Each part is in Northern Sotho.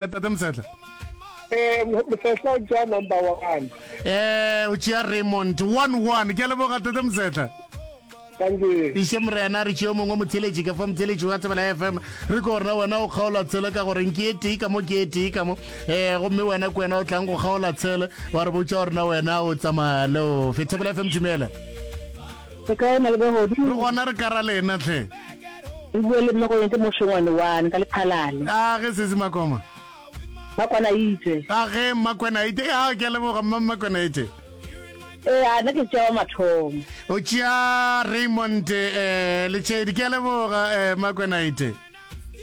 Tate Mosehla. Eh, Mosehla o tšea number one. Eh, o tšea Raymond 1-1. Ke a leboga Tate Mosehla. Thank you. Iše morena re tšeo mongwe motheletši ka fa motheletši wa Tsebela FM re ko rena wena o kgaola tshele ka gore ke e tee ka mo ke e tee ka mo eh gomme wena ke wena o tlang go kgaola tshele wa re botša gore na wena o tsamaya le o fe Thobela FM dumela Re kae malebogodi? Re gona re kara lena hle. Re bue le mmago yente mošongwane wane ka lephalale. A ge sesi Makoma. Mmakwana itse. A ge Mmakwena itse. A ke a leboga mma Mmakwena itse. Ee, a nna ke tšea wa mathomo. O tšea Raymond eh Letšhedi ke a leboga eh Mmakwena itse.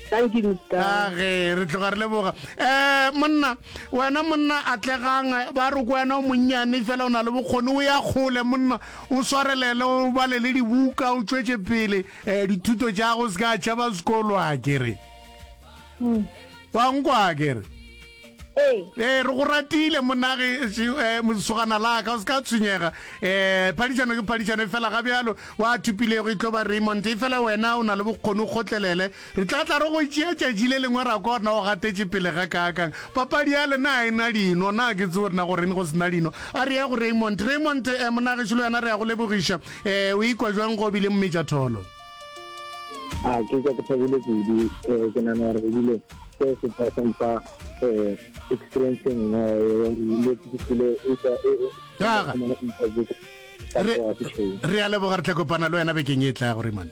Thank you Mister. A ge re tloga re leboga. Eh monna wena monna atlegang ba re ko wena o monnyane fela o na le bokgoni o ya kgole monna o swarelele o bale le dibuka o tšwetše pele eh dithuto tša go se ka tšhaba sekolo a ke re. Wa nkwa a ke re. Ee. Ee, re go ratile monnage, eh, mosogana la ka, o se ka tshwenyega. Eh, phadišano ke phadišano, efela ga bjalo wa thupilego e tlo ba Raymond. Efela wena o na le bokgoni, o kgotlelele. Re tla tla re go tšea tšatši le lengwe ra kwa gore na o gatetše pele ga kaakang. Papadi ya lena ga e na dino, na ke tsebe gore na goreng go se na dino. A re ye go Raymond. Raymond, eh, monnagešu le wena re ya go lebogiša. Eh, o ikwa bjang go bile mmetšatholo? A ke kwa ke thabile kudu, eh, ke nagana gore ebile seo se tla se mfa eh, experience e nngwe le ke file e tla e re a leboga re tla kopana le wena bekeng e tla go Raymond.